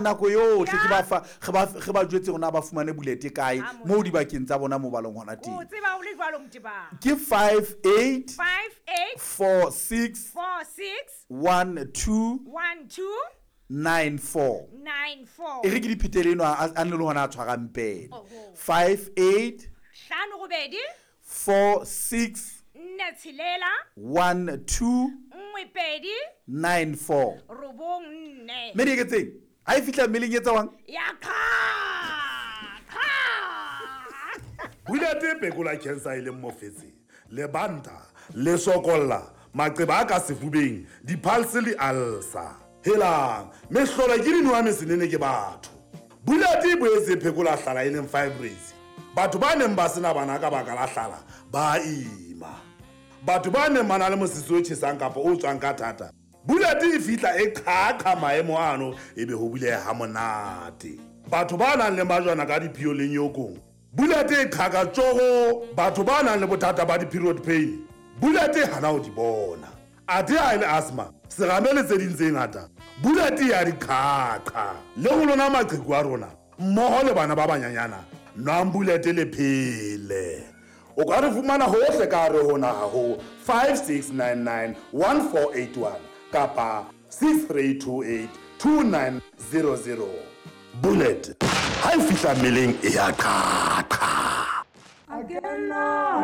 Nako yohle ke ba fa re ba re ba jwetse hore na ba fumane bulete kae moo dibakeng tsa bona moo ba leng hona teng. O tseba o le jwalo Motebang. Ke 58 58 46 46 12 12 94. 94. E re ke di phetele eno a a nne le hona a tshwarang pene. Oho. 58 5 robedi 46 4 tshelela 12 1 pedi 94. robong nne. Mme Dieketseng, ha e fihla mmeleng e tsewang? Ya qha qha. Bulete e phekola cancer e leng mofetshe, lebanta, le sokolla, maqeba a ka sefubeng, di-pulse le ulcer. Helang, mehlolo ke dinowa mesenene ke batho. Bulete e boetse e phekola hlala e leng fibroids. Batho ba neng ba sena bana ka baka la hlala ba ima. Batho ba neng ba na le mosese o tjhesang kapa o tswang ka thata, Bullet e fihla e qhaqha maemo ano ebe ho buleha ha monate. Batho ba nang le majwana ka diphio le nyokong, Bullet e qhaka tjogo. Batho ba nang le bothata ba di-period pain, Bullet e hana ho di bona. Athe ha e le asthma, serame le tse ding tse ngata, Bullet e ya di qhaqha. Le ho lona maqheku a rona, mmoho le bana ba banyanyana, nwang Bullet le phele. O ka re fumana hohle ka hare ho naha ho 5699 1481 kapa 6328 2900. Bullet ha e fihla mmeleng e ya qhaqha.